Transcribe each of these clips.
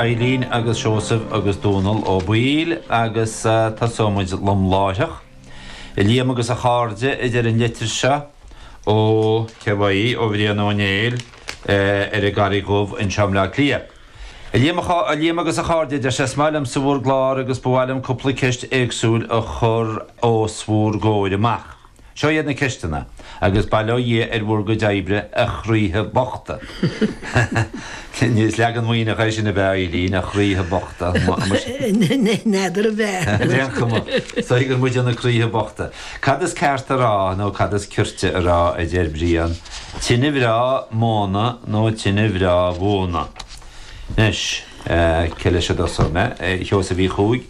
Eileen agus Seosamh agus Dónal Ó Baoill agus tosóidh muid lom láithreach. A Liam agus a chairde, a deir an litir seo ó, cé uaidh í, ó Bhrian Ó Néill ar an gCarraig Dhubh anseo i mBleá Cliath. A Liam, a Liam agus a chairde, a deir sé, is maith liomsa bhur gclár agus ba mhaith liom cúpla ceist éagsúil a chur os bhur gcomhair amach. Seo iad na ceisteanna, agus bail ó Dhia ar bhur gcuid oibre, a chroíthe bochta. Is leagan Muimhneach é sin ab ea, Eileen, a chroíthe bochta. N'fheadar ab ea. Ar aon chuma, is dóigh gur muide na croíthe bochta. Cad is ceart a rá, nó cad is cirte a rá, a deir Brian, tine bhreá mhóna nó tine bhreá mhóna? Anois, cé leis a dtosóidh mé? A Sheosaimh Uí Chuaig,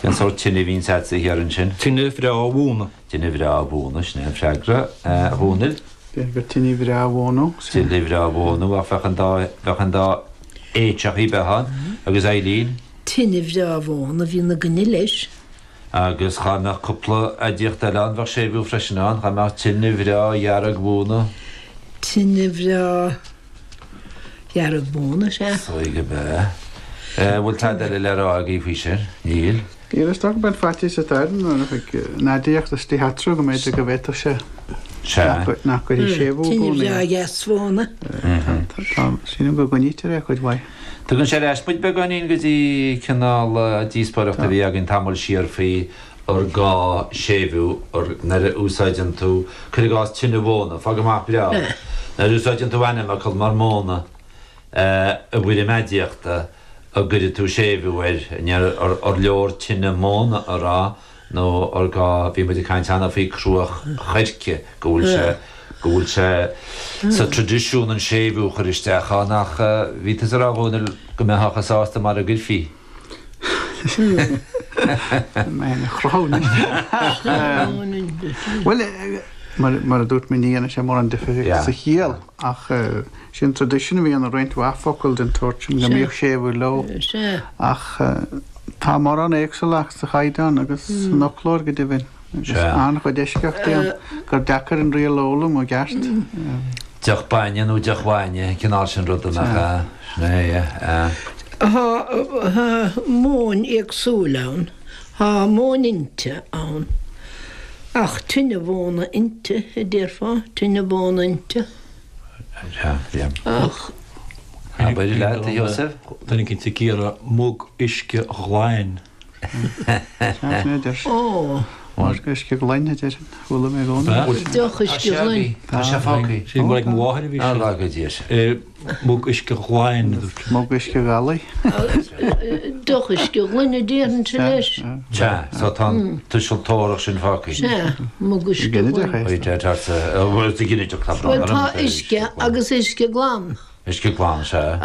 cén sórt tine a bhíonns a'dsa thiar ansin? Tine bhreá mhóna. Tine bhreá mhóna, sin é an freagra, a Dhónaill. B'fhéidir gur tine bhreá mhóna. Tine bhreá mhóna, ach bheadh an dá, bheadh an dá éiteach ar bith ann. Agus Eileen? Tine bhreá mhóna a bhíonn againne leis. Agus dhá mbeadh cúpla aidiacht eile ann, bheadh séimhiú freisin ann, dhá mbeadh tine bhreá dhearg mhóna. Tine bhreá dhearg mhóna, sea. Is dóigh gurb ea. Bhfuil tada eile le rá agaibh faoi sin? Níl. Níl, is dócha gurb é an faitíos atá air nuair a bheidh an aidiacht istigh eatarthu go mb'fhéidir go bhféadfadh sé nach gcuirfidh séimhiú i Tine gcónaí bhreá air. dheas mhóna. Tá, sílim go gcoinnítear é cuid mhaith. Tugann sé ar ais muid beagáinín go dtí cineál díospóireacht a bhí againn tamall siar faoi ar gá séimhiú nuair a úsáideann tú, cuir i gcás tine mhóna, fág amach breá, nuair a úsáideann tú ainmfhocal mar móna i bhfoirm aidiachta, an gcuirfidh tú séimhiú air, ar leor tine móna a rá nó ar gá, bhí muid ag caint cheana faoi cruach choirce, go bhfuil sé, go bhfuil sé sa traidisiún an séimhiú a chur isteach ann ach bhí tusa ag rá a Dhónaill go mbeifeá sásta mara gcuirfí. Mé ina chruthú anois. Bhuel, mar a dúirt mé ní dhéanann sé mórán difir sa chiall ach Sin traidisiún a bhí ann i roinnt mhaith focal den tsórt sin, go mbíodh séimhiú leo. Ach tá mórán éagsúlacht sa chaighdeán agus san fhoclóir go deimhin, agus an-chuid eisceachtaí ann, gur deacair an riail a fhoghlaim i gceart. Deoch bainne nó deoch bhainne, an cineál sin ruda, nach ea? Sin é, é. Tá móin éagsúil ann. Tá móin inte ann. Ach tine mhóna inte, a déarfá, tine mhóna inte. Ach. Abair leat, a Sheosaimh. Duine éicint ag iarraidh mug uisce ghlain. Ó. Mug uisce ghlain, a déarfainn. Chuala mé i gcónaí. Deoch uisce ghlain. Tá sé fágtha. Sin mar ag mo mháthair a bhí sé. Á, go dtí sé. Mug uisce ghlain, a dúirt sé. Mug uisce ghalaí. Deoch uisce ghlain a déarfainnse leis. Sea, so tá an tuiseal tabharthach sin fágtha. Sea, mug uisce ghlain. Ginideach é. Bhuel, sa ghinideach tá brón Bhuel, orm. tá uisce agus uisce glan. Uisce glan, sea.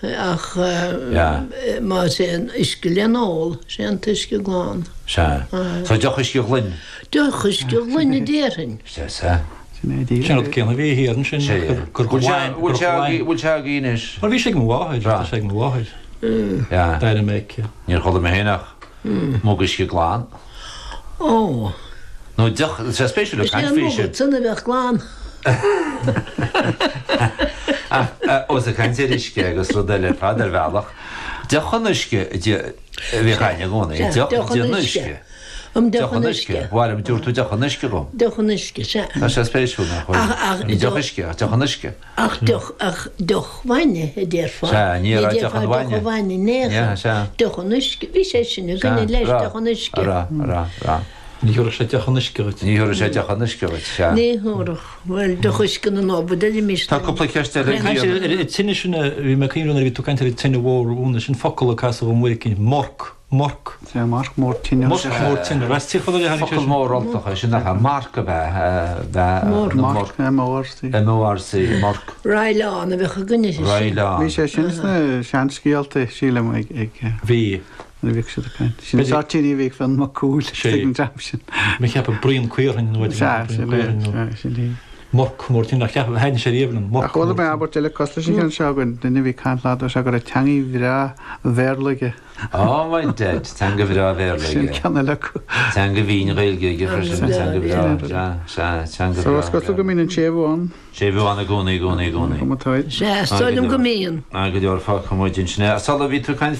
Ach más é an uisce le n-ól, sé an t-uisce glan. Sea. So deoch uisce ghlain. Deoch uisce ghlain a déarfainn. Sea, sea. Sin an rud céanna a bhí thiar ansin, gur ghlain, gur ghlain. Bhfuil sé agaibh anois? Bhuel, bhí sé ag mo mháthair, tá sé ag mo mháthair. D'airigh mé aici. Níor chuala mé féin ach mug uisce glan. Ó. Nó deoch, tá sé spéisiúil ag caint faoi sin. Is é an mug san a bheadh glan. Ach ós ag caint ar uisce agus rud eile ar fad ar bhealach, deoch an uisce a bhíodh againn i gcónaí, deoch den uisce. Um deoch an uisce. Mhair, dúirt tú deoch an uisce dhom. Deoch an uisce, sea. Tá sé spéisiúil, nach bhfuil? Ní deoch uisce, ach deoch an uisce. Ach deoch, ach deoch bhainne, a déarfá. Sea, ní raibh deoch an bhainne. Ní déarfá deoch an bhainne in aon chor. Sea. Deoch an uisce, bhí sé sin againne leis, deoch an uisce. A raibh, a raibh, a raibh. Ní thabharfadh sé deoch an uisce dhuit. Ní thabharfadh sé deoch an uisce dhuit, sea. Ní thabharfadh. Bhuel, deoch uisce na nDobhar, deirimis. Tá cúpla ceist eile ag Caint ar an tine sin, bhí mé ag cuimhneamh nuair a bhí tú ag caint ar an tine mhór, Úna, sin focal a casadh dhom uair éicint, morc. Marc. Sea, marc mór tine. Marc mór tine. As Tír Chonaill a tháinig sé sin. Focal mór Ultach é sin, nach ea? Marc ab ea? Marc. Marc, M-O-R-C. M-O-R-C, Marc. Roileán a bheadh againne sin. Roileán. Bhí sé sin sna seanscéalta, sílim, ag. Bhí. Nuair a bhíodh siad ag caint. Sin an sórt tine a bhíodh Fionn Mac Cumhaill ag an dream sin. Mé cheapadh Bruíon Caorthainn nó. Sea, sin é, sin é. Murc mór tine, ach cheap, thaitnigh sé riamh liom, murc Ach chuala mé abairt eile cosúil leis an cheann seo againn, duine a bhí ag caint lá dúirt sé go raibh teangaidh bhreá Bhéarla aige. Oh my dead, teanga bhreá Bhéarla aige. Sin ceann eile acu. Teanga bhinn Ghaeilge aige freisin, teanga bhreá, sea, sea, teanga bhreá. So is cosúil go mbíonn an séimhiú ann. Séimhiú ann i gcónaí, i gcónaí, i gcónaí. Sea, is dóigh liom go mbíonn. Go leor fágtha muid ansin. Sula bhí tú ag caint.